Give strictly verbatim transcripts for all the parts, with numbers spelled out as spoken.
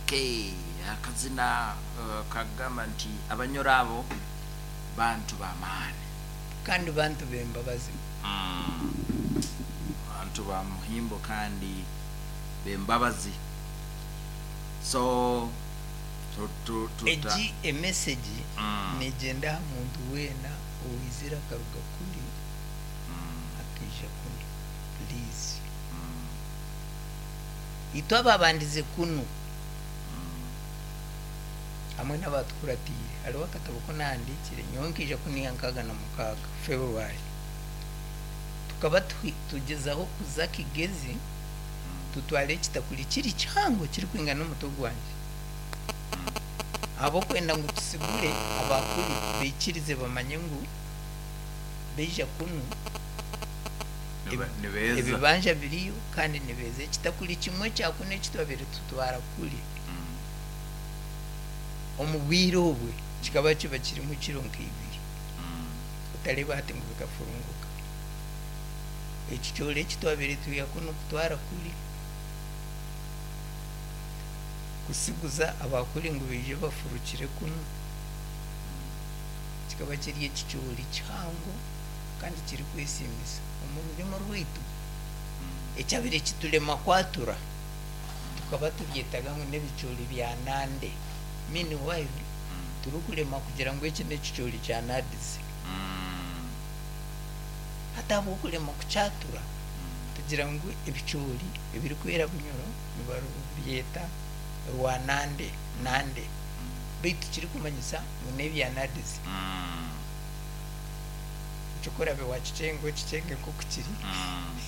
Okay, akazina uh, kagamba nti Abanyoro abo bantu b'amaani. Kandi bantu b'embabazi. Mm. Bantu ba muhimbo kandi b'embabazi. So tu- tu- tuta- Egi emessage Mm. negyenda aha muntu weena owaizire akaruga kuri Mm. akaija kunu, please. Mm. Itwe ababandize kunu hamwe n'abatukuratiire, hariho akatabo ko nahandiikire. Nyowe nkaija kuniya nkaaga na mukaaga February. Tukaba tuhi- tugyezaho kuza Kigezi tutware ekitakuri kiri kihango kirikwingana n'omutwe gwangye, ahabw'okwenda ngu tusigure abakuri baikirize bamanye ngu baija kunu. Nibe- nibeeza. Ebibanja biriyo kandi nibeeza. Ekitakuri kimwe kyakunu ekitwabire tutwara kuri Mm. omu bwire obwe kikaba kiba kirimu kiro nk'ibiri. Mm. Otareba hati ngu bikafurunguka. Ekicoori ekitwabire twiha kunu kutwara kuri kusiguza abakuri ngu baije bafurukire kunu kikaba kiri ekicoori kihango kandi kirikwesiimisa omu rurimi rwaitu. Ekyabire kiturema kwatura, tukaba tubyetaga ngu n'ebicoori bya nande. Meanwhile turikurema kugira ngu eki n'ekicoori kya nadizi. Mm. Hati ahabw'okurema kukyatura, tugira ngu ebicoori ebirikwera Bunyoro nibabyeta rwanande nande, baitu kirikumanyisa ngu n'ebya nadizi. Mm. Ekyokorabe wakicenga, okicenge nk'oku kiri. Mm.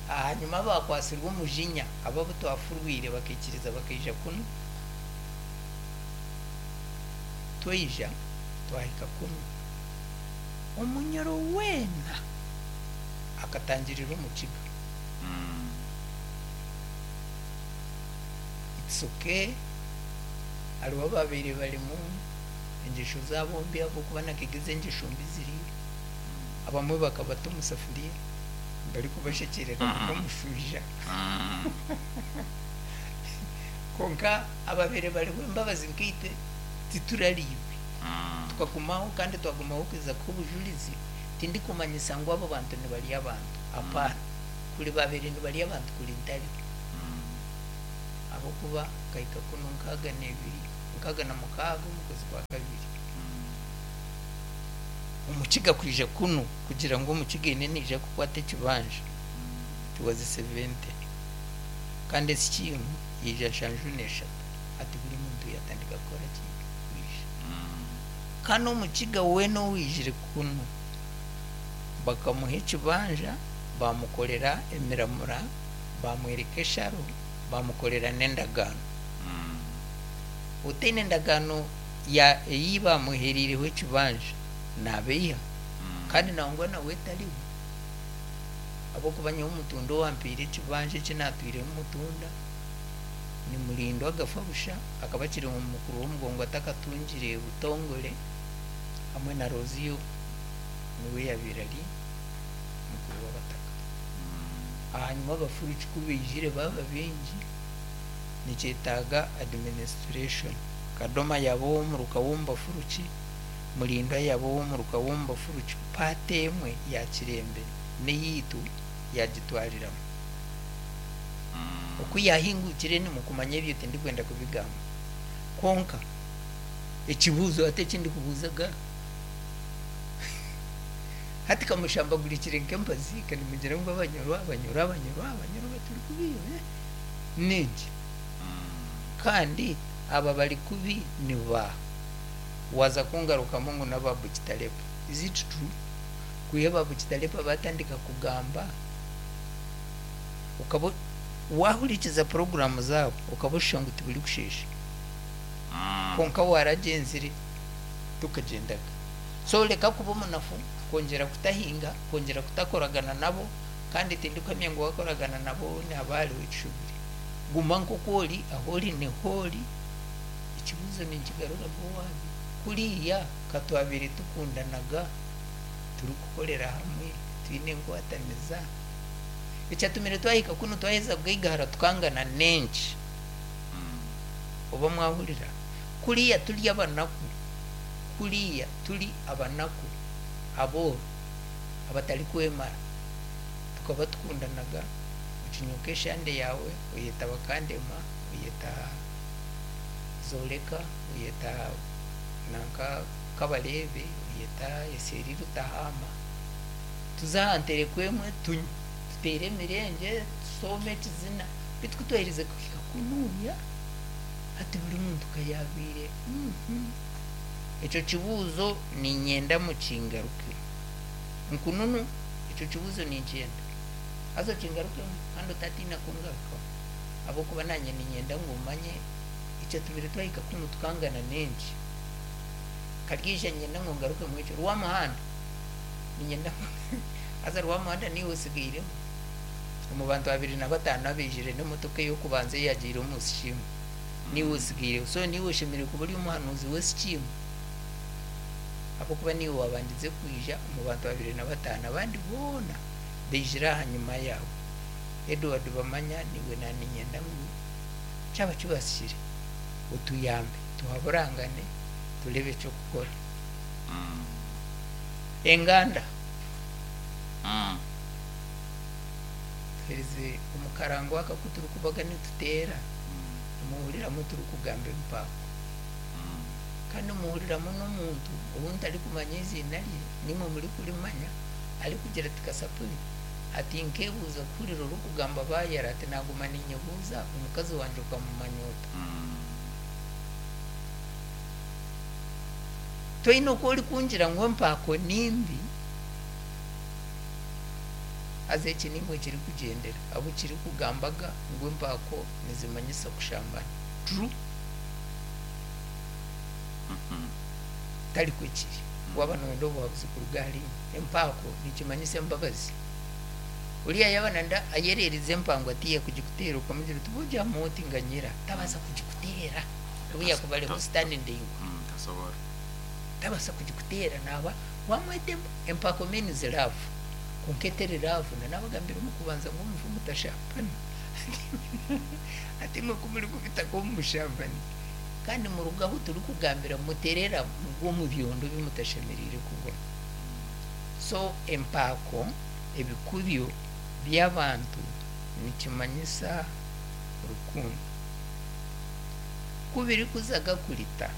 Hanyuma bakwasirwe omujinya abo abu twafurwire bakaikiriza bakaija kunu. Twaija twahika kunu, Omunyoro weena akatangirira Omukiga. Mm. It's okay, hariho ababaire barimu engyesho zaabo mbi, ahabw'okuba nakigezi engyesho mbi ziriyo. Abamwe bakabata omu safuriya barikubashekyerera nk'omushaija. Mm. Konka ababaire bariho embabazi nkaitwe titurariibwe. Mm. Tukagumaho kandi twagumaho kuza kubujurizi. Tindikumanyisa ngu abo bantu nibarya abantu, apaana. Kuri babaire nibarya abantu, kuri ntariho, ahabwokuba nkahika kunu nkaaga n'ebiri, nkaaga na mukaaga omu kwezi kwa kabiri. Omukiga kwija kunu kugira ngu Omukiga eine naija kukwata ekibanja, it was seventy, kandi esikiimu yaija nshanju n'eshatu. Hati buri muntu yatandika kukora ki? Kwija. Kandi Omukiga weena owijire kunu bakamuha ekibanja, bamukorera emiramura, bamwereka esharo, bamukorera n'endagaano. Otaine endagaano ya eyi bamuheriireho ekibanja nabeiha, kandi nangwa nawe tariho, ahabwokuba nyowe omutunda owampiire ekibanja eki natwiremu mutunda ni Murindwa agafa busha, akaba akiri mukuru w'omugongo atakatungire butongore, hamwe na Roziyo niwe yabaire ari mukuru w'abataka. Hanyuma abafuruki ku baijire baba baingi, nikyetaaga administration. Kadoma yaba ow'omuruka w'omubafuruki, Murindwa yaba ow'omuruka w'omubafuruki, paati emwe ya Kirembe n'eyaitu yagitwariramu. Oku yahingukire nimukumanya ebyo, tindikwenda kubigamba. Konka ekibuuzo ate ekindikubuuzaga hati, kamushambagurikire nk'empazi, kanimugira ngu Abanyoro, Abanyoro, Abanyoro, Abanyoro baturi kubi ningi, kandi aba bari kubi ni ba waza kungarukamu ngu n'aba Bukitalepa. Is it true? Kwiha ba Bukitalepa batandika kugamba, ukaba wahurikiza porogaramu zaabo ukaba oshusha ngu tiburi kushesha, konka waragenzire tukagyendaga. So reka kuba omunafu, kwongyera kutahinga, kwongyera kutakoragana nabo. Kandi tindikuhamya ngu wakoragana nabo nihaba hariho ekishobire. Guma nk'oku ori, aho ori niho ori. Ekibuuzo ninkigaruramu owabi kuriya katwabire tukundanaga, turikukorera hamwe, twine enkwataniza, ekyatumire twahika kunu twaheza kugaigahara tukangana nenki? Oba mwahurira kuriya turi abanaku, kuriya turi abanaku abooro abatari kwemara, tukaba tukundanaga. Okinyuka eshande yawe oyeta bakandema, oyeta Zoreka, oyeta nanka Kabarebe, oyeta Eseri Rutahama, tuze aha ntereko emwe tunywe, tuteere emirenge, tusome ekizina. Bitu kutwaherize kuhika kunuuya hati buri muntu kayabiire. Ekyo kibuuzo niinyenda mukingarukemu. Nkununu ekyo kibuuzo ninkyenda haza okingarukemu kandi otatiina kungarukamu, ahabw'okuba naanye niinyenda ngu omanye ekyatumire twahika kunu tukangana n'enki. Karyeija niinyenda ngu ngarukemu ekyo Rwamuhanda niinyenda haza Rwamuhanda niiwe osigairemu omu bantu abiri na bataano abaijire n'emotoka ey'okubanza eyagiire omu sikiimu, niiwe osigaireho. So niiwe oshemereire kuba ori omuhanuuzi w'esikiimu, ahabw'okuba niiwe waabandize kwija omu bantu abiri na bataano, abandi boona baijire ahanyima yaawe. Edward Bamanya, niiwe naaniinyenda ngu kyaba kibasikire otuyambe tuhaburangane tureebe eky'okukora. Enganda tuherize omu karango aka aku turikubaga nituteera, nimuhuriramu turikugamba ebipaako, kandi muhuriramu n'omuntu ou ntarikumanya eiziina rye, nimwe murikurimanya, arikugira ati kasapuri ati nkeebuuza kuhurira orikugamba bayara, ati naguma ninyebuuza omukazi wangye okamumanya ota? Toine oku orikungira ngu empaako nimbi, haza eki nimwe kirikugyendera abu kirikugambaga ngu empaako nizimanyisa kushambana. True? Tarikwo kiri. Waaba nooyenda obuhabuzi kuruga ahariinye, empaako nikimanyisa embabazi. Oriya yaaba nanda ayereerize empango ati yakugikuteera okamugira oti boogyamu oti nganyira, tabaasa kugikuteera nobu yakuba ariho sitaani ndaingwa. Tasobora. Tabaasa kugikuteera naaba wamweta empaako means love, kwonka eteri love. Nanabagambira omu kubanza ngu omufu mutashambana, ati imwe ku murikubitaka omu bushambani kandi muruga ahu turikugambira muterera mugwe omu byondo bi mutashemereire kugwa. So empaako ebikubyo by'abantu nikimanyisa rukundo. Ku birikuzaga kurita